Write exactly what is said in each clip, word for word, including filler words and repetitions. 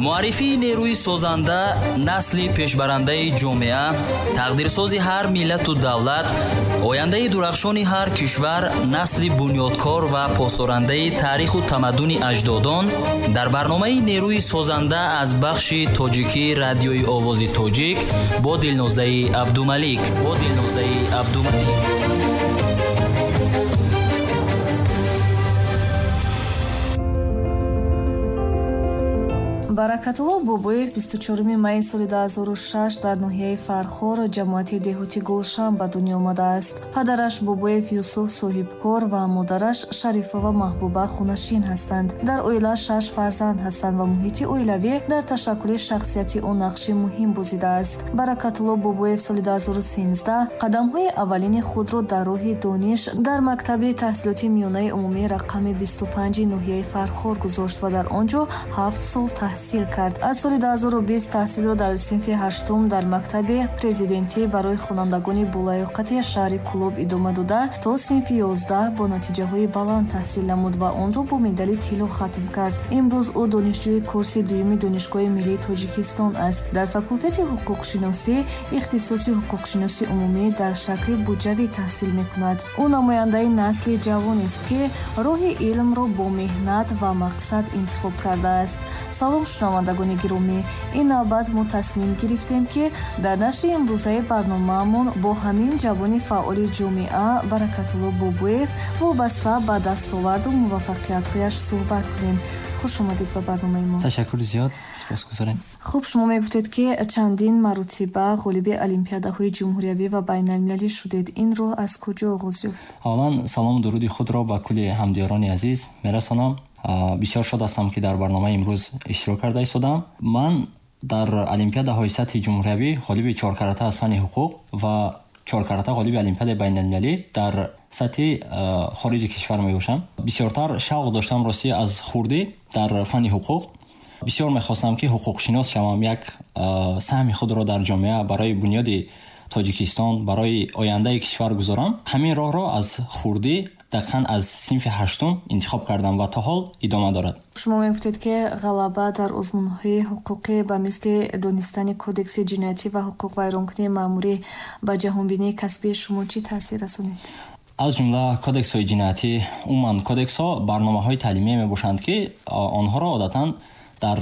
Муаррифии нерӯи созанда, насли пешбарандаи ҷомеа, тақдирсози ҳар миллату давлат, ояндаи дурахшони ҳар кишвар, насли бунёдкор ва посдорандаи таъриху тамаддуни аҷдодон дар барномаи нерӯи созанда аз бахши тоҷикии радиои овози тоҷик бо Дилнозаи Абдумалик. Бо Дилнозаи Абдумалик. Баракатулло Бобоев бисту чоруми майи соли ду ҳазору шаш дар ноҳияи Фархор, ҷамоати деҳоти Гулшан ба дунё омадааст. Падараш Бобоев Юсуф соҳибкор ва модараш Шарифова Маҳбуба хунашин ҳастанд. Дар оила шаш фарзанд ҳастанд ва муҳити оилавӣ дар ташаккули шахсияти ӯ нақши муҳим бозидааст. Баракатулло Бобоев соли ду ҳазору сенздаҳ қадамҳои аввалини худро дар роҳи дониш дар мактаби таҳсилоти миёнаи умумӣ рақами бисту панҷи ноҳияи Фархор гузошт ва дар он ҷо ҳафт сол таҳсил кард. Аз соли ду ҳазору бист таҳсилро дар синфи ҳаштум дар мактаби президентӣ барои хонандагони болаёқати шаҳри Кӯлоб идома дода то синфи ёздаҳ бо натиҷаҳои баланд таҳсил намуд ва онро бо медали тилло хатм кард. Имрӯз ӯ донишҷӯи курси дуюми Донишгоҳи миллии Тоҷикистон аст. Дар факултети ҳуқуқшиносӣ ихтисоси ҳуқуқшиноси умумӣ дар шакли буҷавӣ таҳсил мекунад. Ӯ намояндаи насли ҷавонест, ки роҳи илмро бо меҳнат ва мақсад интихоб кардааст. Салом, шунавандагони гиромӣ. Ин навбат мо тасмим гирифтем, ки дар нашри имрӯзаи барномаамон бо ҳамин ҷавони фаъоли ҷомеа Баракатулло Бобоев вобаста ба дастоварду муваффақиятҳояш суҳбат кунем. Хуш омадед ба барномаи мо. Ташаккури зиёд, сипосгузорем. Хуб, шумо мегуфтед, ки чандин маротиба ғолиби олимпиадаҳои ҷумҳуриявӣ ва байналмилалӣ шудед. Ин роҳ аз куҷо оғоз ёфт? Аввалан салому дуруди худро ба кулли ҳамдиёрони азиз мерасонам. Бисёр шод ҳастам, ки дар барномаи имрӯз иштирок карда истодам. Ман дар олимпиадаҳои сатҳи ҷумҳуриявӣ ғолиби чоркарата аз фанни ҳуқуқ ва чоркарата ғолиби олимпиадаи байналмилалӣ дар сатҳи хориҷи кишвар мебошам. Бисёртар шавқ доштам ростӣ аз хурдӣ дар фанни ҳуқуқ. Бисёр мехостам, ки ҳуқуқшинос шавам, як саҳми худро дар ҷомеа барои бунёди Тоҷикистон, барои ояндаи кишвар гузорам. Ҳамин роҳро аз хурдӣ, дақиқан аз синфи ҳаштум интихоб кардам ва то ҳол идома дорад. Шумо мегуфтед, ки ғалаба дар озмунҳои ҳуқуқӣ ба мисли донистани кодекси ҷиноятӣ ва ҳуқуқвайронкунии маъмурӣ ба ҷаҳонбинии касбии шумо чӣ таъсир расонид? Аз ҷумла кодексҳои ҷиноятӣ, умуман кодексҳо барномаҳои таълимие мебошанд, ки онҳоро одатан дар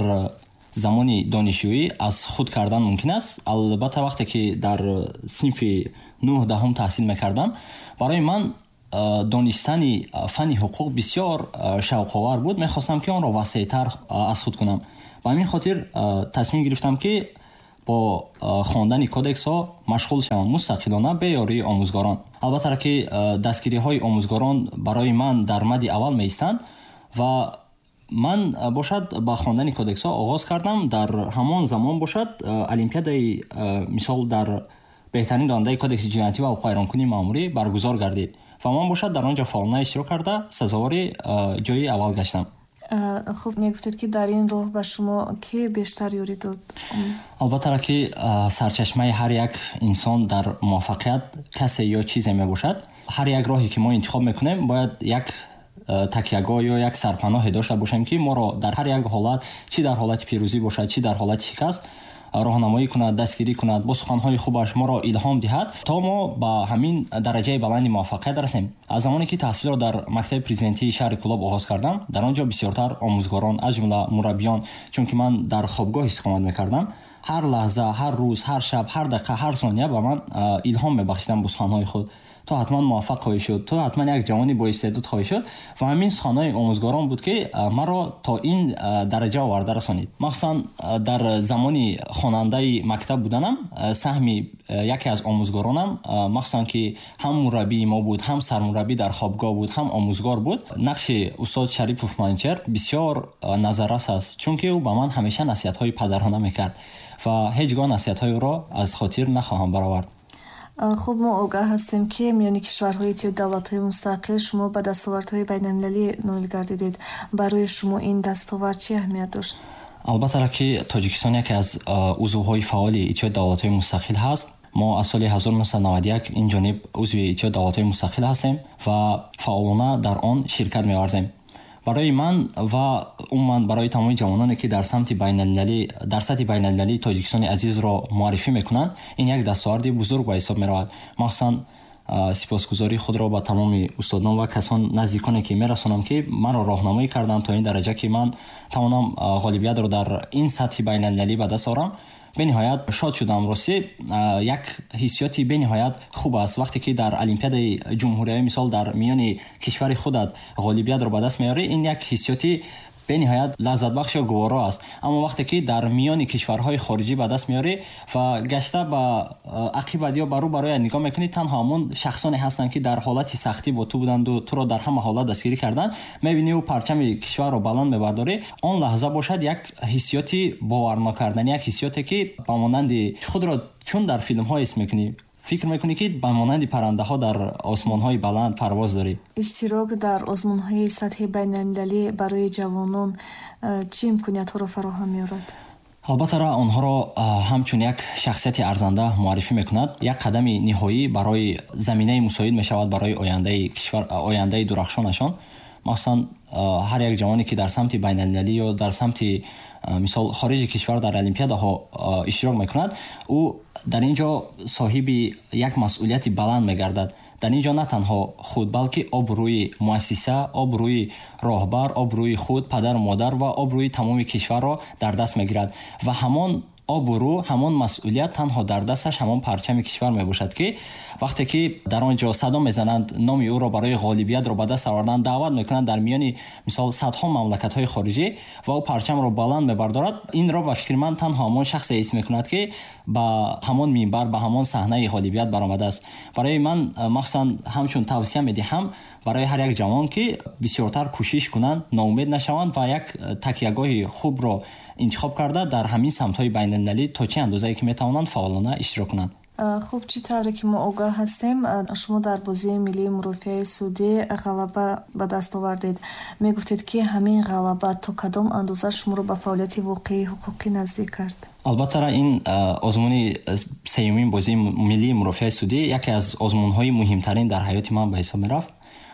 замони донишҷӯӣ аз худ кардан мумкин аст. Албатта вақте ки дар синфи нӯҳ даҳум таҳсил мекардам, барои ман донистани фанни ҳуқуқ бисёр шавқовар буд. Мехостам, ки онро васеътар аз худ кунам. Ба ҳамин хотир тасмим гирифтам, ки бо хондани кодексҳо машғул шавам мустақилона, бе ёрии омӯзгорон. Албатта ки дастгириҳои омӯзгорон барои ман дар мади аввал меистанд ва ман бошад ба хондани кодексҳо оғоз кардам. Дар ҳамон замон бошад олимпиадаи мисол дар беҳтарин донандаи кодекси ҷиноятӣ ва ҳуқуқвайронкунии маъмурӣ баргузор гардид ва ман бошад дар он ҷо фаъолона иштирок карда сазовори ҷои аввал гаштам. Хуб, мегуфтед, ки дар ин роҳ ба шумо ки бештар ёрӣ дод? Албатта ки сарчашмаи ҳар як инсон дар муваффақият касе ё чизе мебошад. Ҳар як роҳе ки мо интихоб мекунем, бояд як такягоҳ ё як сарпаноҳе дошта бошем, ки моро дар ҳар як ҳолат, чӣ дар ҳолати пирӯзӣ бошад, чӣ дар ҳолати шикаст, роҳнамоӣ кунад, дастгирӣ кунад, бо суханҳои хубаш моро илҳом диҳад, то мо ба ҳамин дараҷаи баланди муваффақият расем. Аз замоне ки таҳсилро дар мактаби президентии шаҳри Кӯлоб оғоз кардам, дар он ҷо бисёртар омӯзгорон, аз ҷумла мураббиён, чунки ман дар хобгоҳ истиқомат мекардам, ҳар лаҳза, ҳар рӯз, ҳар шаб, ҳар дақиқа, ҳар сония ба ман илҳом мебахшиданд бо суханҳои худ. Ту ҳатман муваффақ хоҳӣ шуд, ту ҳатман як ҷавони боистеъдод хоҳӣ шуд. Ва ҳамин суханҳои омӯзгорон буд, ки маро то ин дараҷа оварда расонид. Махсусан дар замони хонандаи мактаб буданам саҳми яке аз омӯзгоронам, махсусан ки ҳам мураббии мо буд, ҳам сармураббӣ дар хобгоҳ буд, ҳам омӯзгор буд, нақши устод Шарипов Манчер бисёр назаррас аст, чунки ӯ ба ман ҳамеша насиҳатҳои падарона мекард ва ҳеҷ гоҳ насиҳатҳои ӯро аз хотир нахоҳам баровард. Хуб, мо огаҳ ҳастем, ки миёни кишварҳои иттиҳоди давлатҳои мустақил шумо ба дастовардҳои байналмилалӣ ноил гардидед. Барои шумо ин дастовард чӣ аҳамият дошт? Албатта ки Тоҷикистон яке аз узвҳои фаъоли иттиҳоди давлатҳои мустақил ҳаст. Мо аз соли ҳазору нӯҳсаду наваду як ин ҷониб узви иттиҳоди давлатҳои мустақил ҳастем ва фаъолона дар он ширкат меварзем. Барои ман ва умуман барои тамоми ҷавононе, ки дар самти байналмилалӣ, дар сатҳи байналмилалии Тоҷикистони азизро муаррифӣ мекунанд, ин як дастоварди бузург ба ҳисоб меравад. Махсусан сипосгузории худро ба тамоми устодон ва касон наздиконе, ки мерасонам, ки маро роҳнамоӣ карданд то ин дараҷа, ки ман тавонам ғолибиятро дар ин сатҳи байналмилалӣ ба даст орам. Бениҳоят шод шудам. Ростӣ, як ҳиссиёти бениҳоят хуб аст, вақте ки дар олимпиадаи ҷумҳуриявӣ, мисол, дар миёни кишвари худат ғолибиятро ба даст меорӣ, ин як ҳиссиёти бениҳоят лаззатбахш ё гуворо аст. Аммо вақте ки дар миёни кишварҳои хориҷӣ ба даст меорӣ ва гашта ба ақибат ё ба рӯ бароят нигоҳ мекунӣ, танҳо ҳамон шахсоне ҳастанд, ки дар ҳолати сахтӣ бо ту буданду туро дар ҳама ҳолат дастгирӣ карданд, мебинӣ парчами кишварро баланд мебардорӣ, он лаҳза бошад як ҳиссиёти боварнокарданӣ, як ҳиссиёте, ки ба монанди худро чун дар филмҳо ҳис мекунӣ, фикр мекунӣ, ки ба монанди паррандаҳо дар осмонҳои баланд парвоз дорӣ. Иштирок дар озмунҳои сатҳи байналмилалӣ барои ҷавонон э, чӣ имкониятҳоро фароҳам меорад? Албатта, онҳоро ҳамчун як шахсияти арзанда муаррифӣ мекунад, як қадами ниҳоӣ барои заминаи мусоид мешавад барои ояндаи кишвар, ояндаи дурахшонашон. Махсусан ҳар як ҷавоне, ки дар самти байналмилалӣ ё дар самти, мисол, хориҷи кишвар дар олимпиадаҳо иштирок мекунад, ӯ дар ин ҷо соҳиби як масъулияти баланд мегардад. Дар ин ҷо на танҳо худ, балки обрӯи муассиса, обрӯи роҳбар, обрӯи худ, падару модар ва обрӯи тамоми кишварро дар даст мегирад. Ва ҳамон обрӯ, ҳамон масъулият танҳо дар дасташ ҳамон парчами кишвар мебошад, ки вақте ки дар он ҷо садо мезананд, номи ӯро барои ғолибиятро ба даст овардан даъват мекунанд дар миёни, мисол, садҳо мамлакатҳои хориҷӣ ва ӯ парчамро баланд мебардорад, инро, ба фикри ман, танҳо ҳамон шахсе ҳис мекунад, ки ба ҳамон минбар, ба ҳамон саҳнаи ғолибият баромадааст. Барои ман, махсусан, ҳамчун тавсия медиҳам барои ҳар як ҷавон, ки бисёртар кӯшиш кунанд, ноумед нашаванд ва як такягоҳи хубро интихоб карда, дар ҳамин самтҳои байналмилалӣ то чӣ андозае ки метавонанд, фаъолона иштирок кунанд. Хуб, чӣ тавре ки мо огаҳ ҳастем, шумо дар бозии миллии мурофиаи судӣ ғалаба ба даст овардед. Мегуфтед, ки ҳамин ғалаба то кадом андоза шуморо ба фаъолияти воқеии ҳуқуқӣ наздик кард? Албатта, ин озмуни сеюмин бозии миллии мурофиаи судӣ яке аз озмунҳои муҳимтарин дар ҳаёти ман ба ҳисоб мерафт.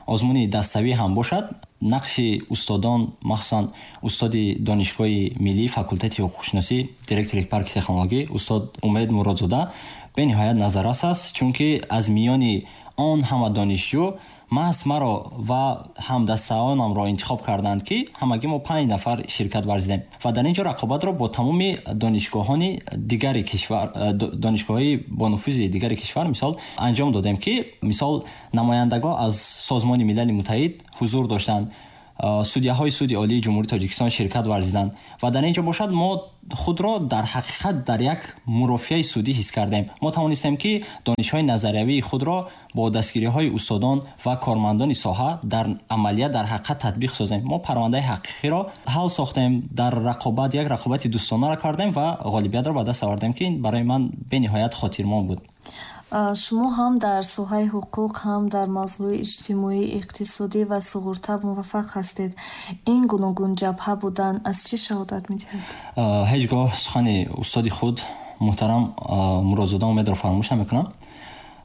Озмуни даставӣ ҳам бошад, нақши устодон, махсусан устоди Донишгоҳи миллӣ, факултети ҳуқуқшиносӣ, директори парки технологӣ, устод Умед Муродзода бениҳоят назаррас аст, чунки аз миёни он ҳама донишҷӯ маҳз маро ва ҳамдастаонамро интихоб карданд, ки ҳамагӣ мо панҷ нафар ширкат варзидем ва дар ин ҷо рақобатро бо тамоми донишгоҳони дигари кишвар, донишгоҳҳои бонуфузи дигари кишвар, мисол, анҷом додем, ки, мисол, намояндагон аз Созмони Милали Муттаҳид ҳузур доштанд, судяҳои Суди Олии Ҷумҳурии Тоҷикистон ширкат варзиданд. Ва дар ин ҷо бошад, мо худро дар ҳақиқат дар як мурофиаи судӣ ҳис кардем. Мо тавонистем, ки донишҳои назариявии худро бо дастгириҳои устодон ва кормандони соҳа дар амалият, дар ҳақиқат татбиқ созем. Мо парвандаи ҳақиқиро ҳал сохтем, дар рақобат як рақобати дӯстонаро кардем ва ғолибиятро ба даст овардем, ки ин барои ман бениҳоят хотирмон буд. Шумо ҳам дар соҳаи ҳуқуқ, ҳам дар мавзӯи иҷтимоӣ, иқтисодӣ ва суғурта муваффақ ҳастед. Ин гуногунҷабҳа будан аз чӣ шаҳодат медиҳад? Ҳеҷ гоҳ сухани устоди худ, муҳтарам Муродзода Умедро, фаромӯш намекунам.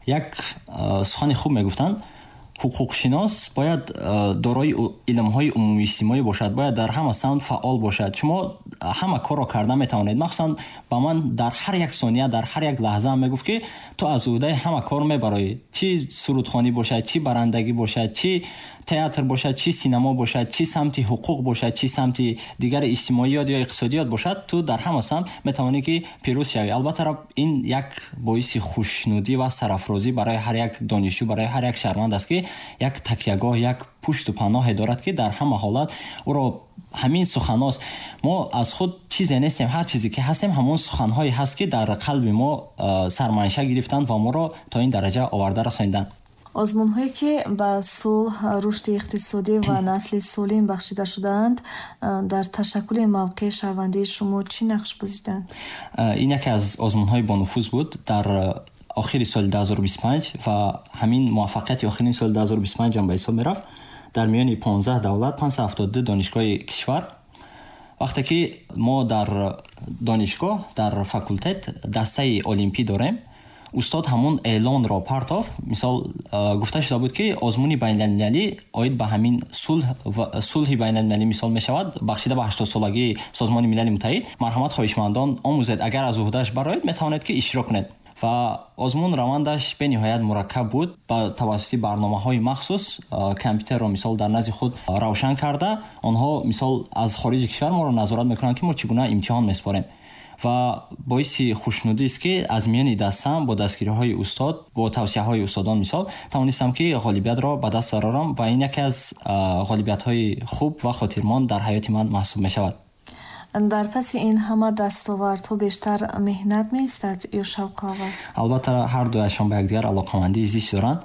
Як сухани хуб мегуфтанд: ҳуқуқшинос бояд дорои илмҳои умумииҷтимоӣ бошад, бояд дар ҳама самт фаъол бошад. Шумо ҳама корро карда метавонед. Махсусан ба ман дар ҳар як сония, дар ҳар як лаҳза мегуфт, ки ту аз ӯҳдаи ҳама кор мебароӣ, чӣ сурудхонӣ бошад, чӣ барандагӣ бошад, чӣ театр бошад, чӣ синамо бошад, чӣ самти ҳуқуқ бошад, чӣ самти дигари иҷтимоиёт ё иқтисодиёт бошад, ту дар ҳама самт метавонӣ, ки пирӯз шавӣ. Албатта, ин як боиси хушнудӣ ва сарафрозӣ барои ҳар як донишҷӯ, барои ҳар як шаҳрванд аст, ки як такягоҳ, як пушту паноҳе дорад, ки дар ҳама ҳолат ӯро ҳамин суханост. Мо аз худ чизе нестем, ҳар чизе ки ҳастем, ҳамон суханҳое ҳаст, ки дар қалби мо сарманша гирифтанд ва моро то ин дараҷа оварда расониданд. Озмунҳое, ки ба сулҳ, рушди иқтисодӣ ва насли солим бахшида шудаанд, дар ташаккули мавқеи шаҳрвандии шумо чӣ нақш бозиданд? Ин яке аз озмунҳои бонуфуз буд дар охири соли ду ҳазору бисту панҷ ва ҳамин муваффақияти охирини соли ду ҳазору бисту панҷ ҳам ба ҳисоб мерафт. Дар миёни понздаҳ давлат, панҷсаду ҳафтоду ду донишгоҳи кишвар, вақте ки мо дар донишгоҳ, дар факултет дастаи олимпӣ дорем, Устод ҳамон эълонро партофт. Мисол, гуфта шуда буд, ки озмуни байналмилалӣ оид ба ҳамин сулҳ ва сулҳи байналмилалӣ мисол мешавад, бахшида ба ҳаштодсолагии Созмони Милали Муттаҳид. Марҳамат, хоҳишмандон, омӯзед, агар аз уҳдааш бароед, метавонед, ки иштирок кунед. Ва озмун равандаш бениҳоят мураккаб буд. Ба тавассути барномаҳои махсус компютерро мисол дар назди худ равшан карда, онҳо мисол аз хориҷи кишвар моро назорат мекунанд, ки мо чӣ гуна имтиҳон месупорем. Ва боиси хушнудист, ки аз миёни дастам бо дастгириҳои устод, бо тавсияҳои устодон мисол тавонистам, ки ғолибиятро ба даст барорам ва ин яке аз ғолибиятҳои хуб ва хотирмон дар ҳаёти ман маҳсуб мешавад. Дар паси ин ҳама дастовардҳо бештар меҳнат меистад ё шавқу ҳавас? Албатта, ҳар дуяшон ба якдигар алоқамандии зич доранд.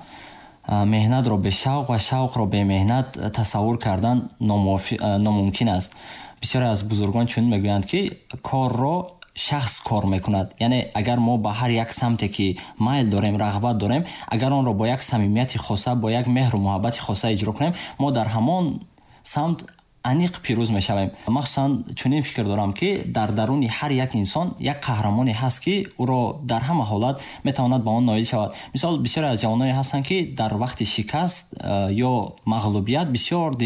Меҳнатро бе шавқ ва шавқро бемеҳнат тасаввур кардан номумкин аст. Бисёре аз бузургон чунин мегӯянд, ки корро шахс кор мекунад. Яъне агар мо ба ҳар як самте, ки майл дорем, рағбат дорем, агар онро бо як самимияти хоса, бо як меҳру муҳаббати хоса иҷро кунем, мо дар ҳамон самт аниқ пирӯз мешавем. Махсусан чунин фикр дорам, ки дар даруни ҳар як инсон як қаҳрамоне ҳаст, ки ӯро дар ҳама ҳолат метавонад ба он ноил шавад. Мисол, бисёре аз ҷавононе ҳастанд, ки дар вақти шикаст ё мағлубият бисёр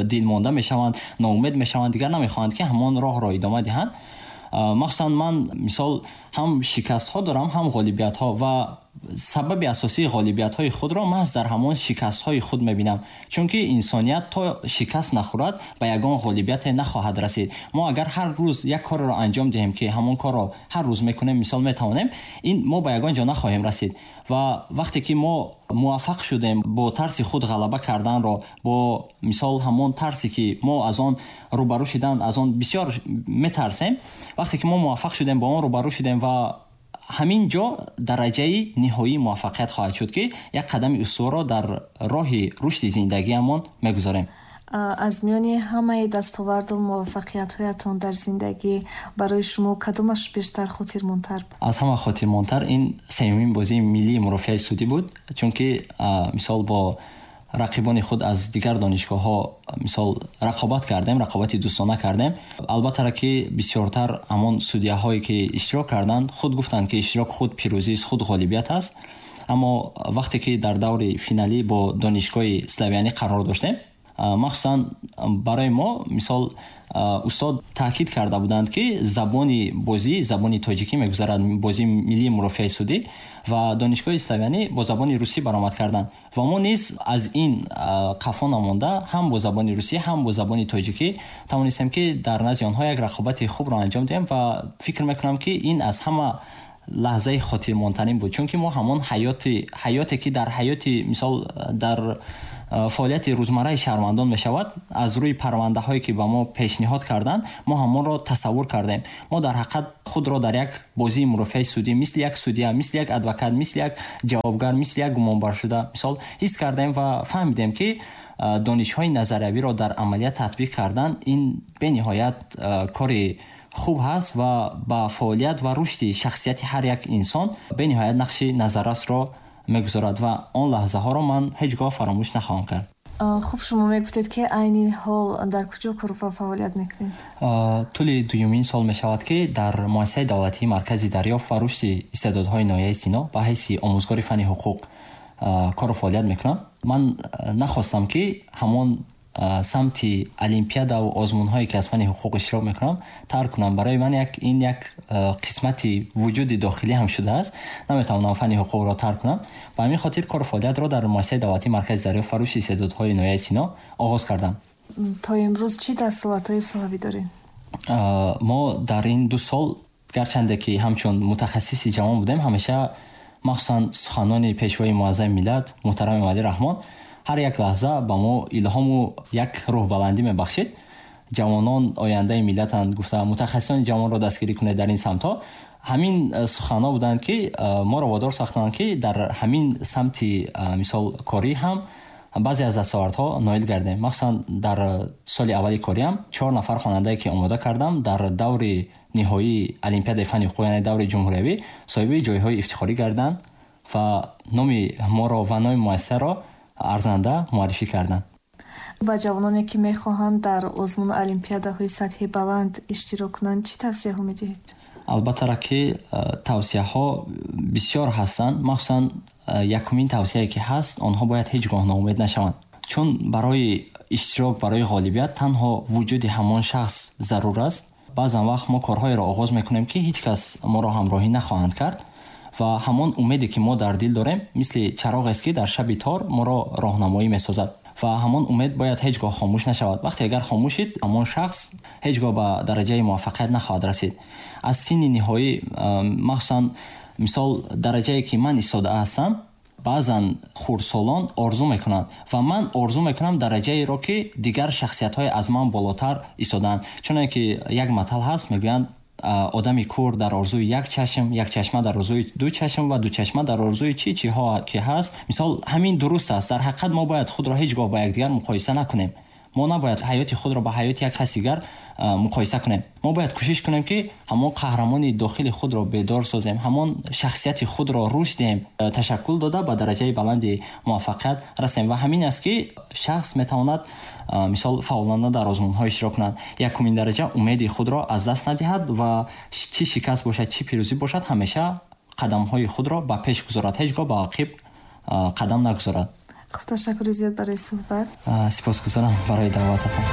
дилмонда мешаванд, ноумед мешаванд, дигар намехоҳанд, ки ҳамон роҳро идома диҳанд. Махсусан ман мисол ҳам шикастҳо дорам, ҳам ғолибиятҳо, ва сабаби асосии ғолибиятҳои худро маҳз дар ҳамон шикастҳои худ мебинам, чунки инсоният то шикаст нахӯрад, ба ягон ғолибияте нахоҳад расид. Мо агар ҳар рӯз як корро анҷом диҳем, ки ҳамон корро ҳар рӯз мекунем, мисол метавонем, ин мо ба ягон ҷо нахоҳем расид. Ва вақте ки мо муваффақ шудем бо тарси худ ғалаба карданро, бо мисол ҳамон тарсе, ки мо аз он рӯбарӯ шудан, аз он бисёр метарсем, вақте ки мо муваффақ шудем, бо он рӯбарӯ шудем, ва ҳамин ҷо дараҷаи ниҳоии муваффақият хоҳад шуд, ки як қадами устуворро дар роҳи рушди зиндагиамон мегузорем. Аз миёни ҳамаи дастоварду муваффақиятҳоятон дар зиндагӣ барои шумо кадомаш бештар хотирмонтар буд? Аз ҳама хотирмонтар ин сеюмин бозии миллии мурофиаи судӣ буд, чунки мисол бо рақибони худ аз дигар донишгоҳҳо мисол рақобат кардем, рақобати дӯстона кардем. Албатта, ки бисёртар ҳамон судяҳое, ки иштирок карданд, худ гуфтанд, ки иштирок худ пирӯзист, худ ғолибият аст. Аммо вақте ки дар даври финалӣ бо донишгоҳи славянӣ қарор доштем, махсусан барои мо мисол устод таъкид карда буданд, ки забони бозӣ забони тоҷикӣ мегузарад, бозии миллии мурофиаи судӣ, ва донишгоҳи славянӣ бо забони русӣ баромад карданд. Ва мо низ аз ин қафо намонда, ҳам бо забони русӣ, ҳам бо забони тоҷикӣ тавонистем, ки дар назди онҳо як рақобати хубро анҷом диҳем. Ва фикр мекунам, ки ин аз ҳама лаҳзаи хотирмонтарин буд, чунки мо ҳамон ҳаёти ҳаёте, ки дар ҳаёти мисол дар фаъолияти рӯзмарраи шаҳрвандон мешавад, аз рӯи парвандаҳое, ки ба мо пешниҳод карданд, мо ҳамонро тасаввур кардем. Мо дар ҳақиқат худро дар як бозии мурофиаи судӣ мисли як судя, мисли як адвокат, мисли як ҷавобгар, мисли як гумонбаршуда мисол ҳис кардем ва фаҳмидем, ки донишҳои назариявиро дар амалият татбиқ кардан ин бениҳоят кори хуб ҳаст ва ба фаъолият ва рушди шахсияти ҳар як инсон бениҳоят нақши назаррасро мегузорад ва он лаҳзаҳоро ман ҳеҷ гоҳ фаромӯш нахоҳам кард. Хуб, шумо мегуфтед, ки айни ҳол дар куҷо кор ва фаъолият мекунед? Тӯли дуюмин сол мешавад, ки дар муассисаи давлатии Маркази дарёфт ва рушди истеъдодҳои ноҳияи Сино ба ҳайси омӯзгори фанни ҳуқуқ кору фаъолият мекунам. Ман нахостам, ки ҳамон самти олимпиадаву озмунҳое, ки аз фанни ҳуқуқ иштирок мекунам, тарк кунам. Барои ман як ин як қисмати вуҷуди дохилӣ ҳам шудааст, наметавонам фанни ҳуқуқро тарк кунам. Ба ҳамин хотир кору фаъолиятро дар муассисаи давлатии Маркази дарёфт ва рушди истеъдодҳои ноҳияи Сино оғоз кардам. То имрӯз чӣ дастовардҳои соҳавӣ доред? Мо дар ин ду сол, гарчанде ки ҳамчун мутахассиси ҷавон будем, ҳамеша махсусан суханони пешвои муаззами миллат муҳтарам Эмомалӣ Раҳмон ҳар як лаҳза ба мо илҳому як рӯҳбаландӣ мебахшид. Ҷавонон ояндаи миллатанд гуфта, мутахассисони ҷавонро дастгирӣ кунед дар ин самтҳо. Ҳамин суханҳо буданд, ки моро водор сохтанд, ки дар ҳамин самти мисол корӣ ҳам баъзе аз дастовардҳо ноил гардем. Махсусан дар соли аввали кориам чор нафар хонандае, ки омода кардам, дар даври ниҳоии олимпиадаи фанни ҳуқуқ, яъне даври ҷумҳуриявӣ, соҳиби ҷойҳои ифтихорӣ гарданд ва номи моро ва номи муассисаро арзанда муаррифӣ карданд. Ба ҷавононе, ки мехоҳанд дар озмуну олимпиадаҳои сатҳи баланд иштирок кунанд, чӣ тавсияҳо медиҳед? Албаттара, ки тавсияҳо бисёр ҳастанд. Махсусан якумин тавсияе ки ҳаст, онҳо бояд ҳеҷ гоҳ ноумед нашаванд, чун барои иштирок, барои ғолибият танҳо вуҷуди ҳамон шахс зарур аст. Баъзан вақт мо корҳоеро оғоз мекунем, ки ҳеҷ кас моро ҳамроҳӣ нахоҳанд кард, ва ҳамон умеде ки мо дар дил дорем, мисли чароғест, ки дар шаби тор моро роҳнамоӣ месозад, ва ҳамон умед бояд ҳеҷ гоҳ хомӯш нашавад. Вақте агар хомӯш шид, ҳамон шахс ҳеҷ гоҳ ба дараҷаи муваффақият нахоҳад расид. Аз синни ниҳоӣ, махсусан мисол дараҷае ки ман истода ҳастам, баъзан хурдсолон орзу мекунанд, ва ман орзу мекунам дараҷаеро, ки дигар шахсиятҳое аз ман болотар истодаанд. Чуне ки як матал ҳаст, мегӯянд: одами кур дар орзуи як чашм, як чашма дар орзуи ду чашм ва ду чашма дар орзуи чӣ чиҳо ки ҳаст. Мисол, ҳамин дуруст аст. Дар ҳақиқат мо бояд худро ҳеҷ гоҳ ба якдигар муқоиса накунем. Мо набояд ҳаёти худро ба ҳаёти як каси дигар муқоиса кунем. Мо бояд кӯшиш кунем, ки ҳамон қаҳрамони дохили худро бедор созем, ҳамон шахсияти худро рушд диҳем, ташаккул дода, ба дараҷаи баланди муваффақият расем. Ва ҳамин аст, ки шахс метавонад, мисол, фаъолона дар озмунҳо иштирок кунад. Якумин дараҷа, умеди худро аз даст надиҳад ва чӣ шикаст бошад, чӣ пирӯзӣ бошад, ҳамеша қадамҳои худро ба пеш гузорад, ҳеҷ гоҳ ба ақиб қадам нагузорад. Хуб, ташаккури зиёд барои суҳбат. Сипосгузорам барои даъвататон.